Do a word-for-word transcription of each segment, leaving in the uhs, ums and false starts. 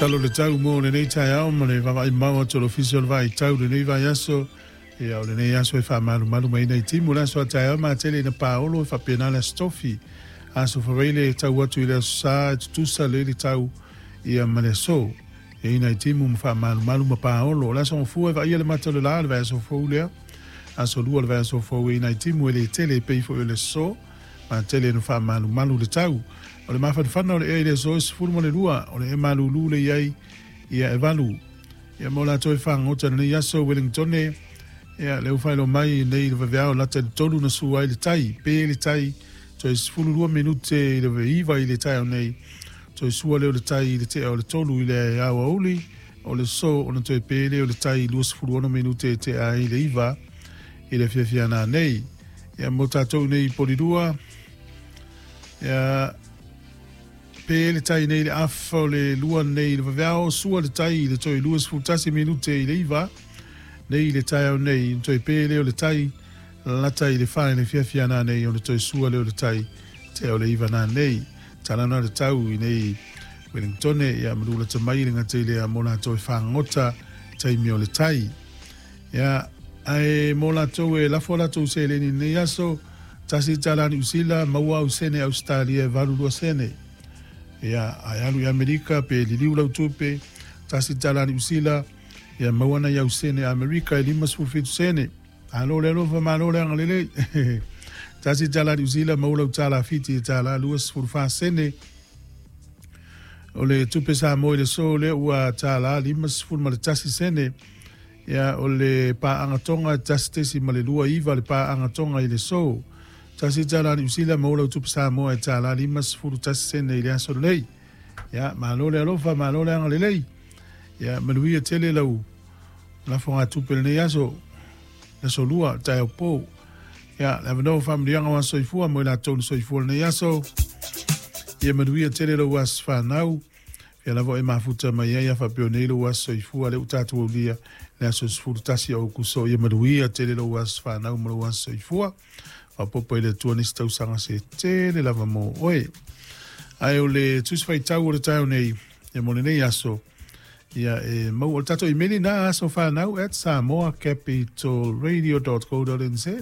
Talo le tau mo lenei taeao ma le vaavaai mau atu o le Ofisa o le Vaitau lenei vaiaso. Ia o lenei aso e faamalumalu mai nei timu le aso a taeao matele ina paolo e faapena le aso tofi. Aso Faraile e tau atu i le aso Sa e tutusa le le tau ia ma le aso. E ina i timu ma faamalumalu ma paolo. O le aso gafua e vaaia le mata o le la le vaiaso fou lea. Aso Lua le vaiaso fou e ina i timu e le tele e pei foi o le aso. Matele ina faamalumalu le tau. O le mafanafana o le ea i le aso e sefulu ma le lua, o le ea malulu le i ai ia e valu. Ia mo latou e fagota lenei aso Wellingtone, ia le ufailo mai nei le vaveao lata i le tolu na sua ai le tai, pe le tai, toe sefulu lua minute i le iva i le taeao nei, toe sua lea o le tai i le tea o le tolu i le aoauli, o le so ona toe pe lea o le tai i luasefulu ono minute e tea ai le iva i le afiafi nei. Ia mo tatou nei i Polirua, ia pe le tai nei le afa o le lua nei le vaveao, sua le tai i le toe luasefulu tasi minute i le iva nei le taeao nei, toe pe lea o le tai lata i le fa i le afiafi nei o le toe sua lea o le tai tea o le iva na nei. Talana le tau i nei Wellingtone, ia malula te mai le ngate lea mo latou e fagota taimi o le tai. Ia ae mo latou e lafo latou seleni nei aso, tasi tala Niu Sila, maua au sene Australia e valu lua sene. Ia ae alu i Amerika pe liliu lau tupe, tasi tala Niu Sila, ia maua nai au sene Amerika e lima sefulu fitu sene. Alo le alofa malo le agalelei. Tasi tala Niu Sila, maua lau tala Fiti e tala lua sefulu fa sene. O le tupe Samoa i le so lea ua tala lima sefulu ma le tasi sene. Ia o le paagatonga tasi tesi ma le lua iva le paagatonga i le so. Tasi tala Niu Sila, maua lau tupe Samoa e tala lima sefulu tasi sene i le aso lelei. Ia malo le alofa malo le agalelei. Ia manuia tele lau lafoga tupe lenei aso, aso Lua taeao pou. Ia le avanoa faamanuiaga o aso soifua mo i latou na soifua lenei aso. Ia manuia tele lau aso fanau. Ia lava e mafuta mai ai a faapea nei lau aso soifua le ua tatou aulia le aso sefulu tasi o Aokuso. Ia manuia tele lau aso fanau ma lau aso soifua. Faapopo i le Atua nisi tausaga se tele lava mo oe. Ae o le tusi faitau o le taeao nei, ia mo lenei aso, ia e mau o le tatou imeli na aso fanau at samoa capital radio dot co dot nz.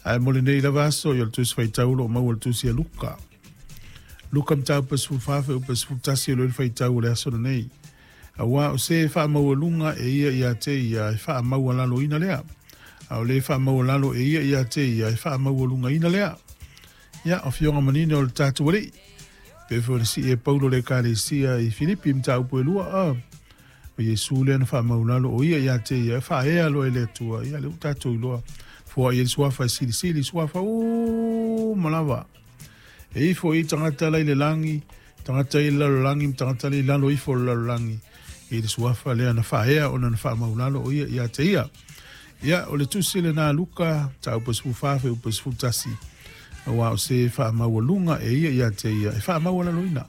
Ae mo lenei lava aso, ia o le tusi faitau lo mau o le tusi a Luka. Luka mataupu sefulu fa fuaiupu sefulu tasi o le faitau o le aso lenei. Auā o se faamaualuga e ia ia te ia e faamaualaloina lea. A o le faamaualalo e ia ia te ia e faamaualugaina lea. Ia o fioga manino o le tatou alii. Pe foi si e Paulo le ekalesia i Filipi mataupu e lua a. O Iesu lea na faamaulalo o ia ia te ia e faaea loa e le Atua. Ia le ua tatou iloa. Foai e le suafa e silisili, suafa uma lava. E ifo i tagata lai le lagi, tagata i le lalolagi, ma tagata lai lalo ifo o le lalolagi. I le suafa lea na faaea ona na faamaulalo o ia ia te ia. Ia o le tusi lena Luka, mataupu sefulu fa fuaiupu sefulu tasi. Auā o se faamaualuga e ia ia te ia e faamaualaloina.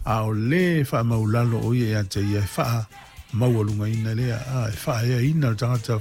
A o le faamaulalo o ia ia te ia e faamaualugaina lea. A e faaeaina le tagata.